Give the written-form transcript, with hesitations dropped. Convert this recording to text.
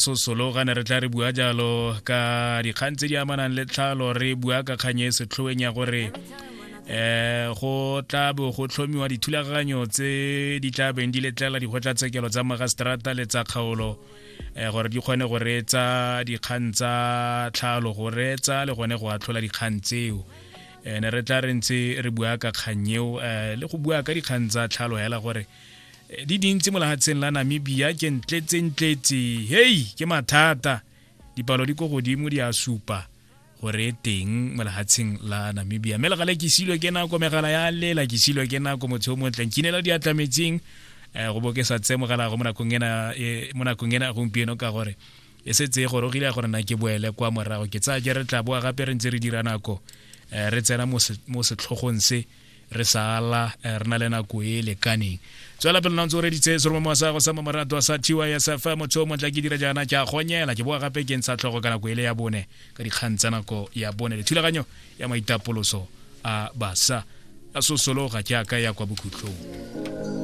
Sosologa ne re tla re bua jalo ka dikgang tse di amanang le tlhalo, re bua ka kgang e setlhoeng ya gore go tla bo go tlhomiwa dithulaganyo tse di tla beng di letlela dikgotlatshekelo tsa magistrata le tsa kgaolo gore di kgone go reetsa dikgang tsa tlhalo, go reetsa le gone go atlhola dikgang tseo. Ne re tla re ntse re bua ka kgang eo le go bua ka dikgang tsa tlhalo hela gore di dintsi mo lehatsheng la Namibia, ke ntletsentletse, hei, ke mathata, dipalo di ko godimo di a supa gore e teng mo lehatsheng la Namibia. Mme legale ke silwe ke nako, megala ya lela, ke silwe ke nako, motho o montle nkinela diatla metsing go bo ke sa tse mogala go mo nakong ena, mo nakong ena gompieno, ka gore e setse e gorogile ya gore na ke boele kwa morago. Ke tsaya ke re tla boa gape re ntse re dira nako, re tsena mo setlhogong se re sala re na le nako e lekaneng. Tswela pele ntse o reditse seromo sa go sa mamaratwa sa TYSF. Motho o motla ke dira jaana, ke a gonyela, ke boa gape ke ntsha tlhogo ka nako e le ya bone ka dikgang tsa nako ya bone le thulaganyo ya maitapoloso a basa a sosologa jaaka ya kwa bokhutlong.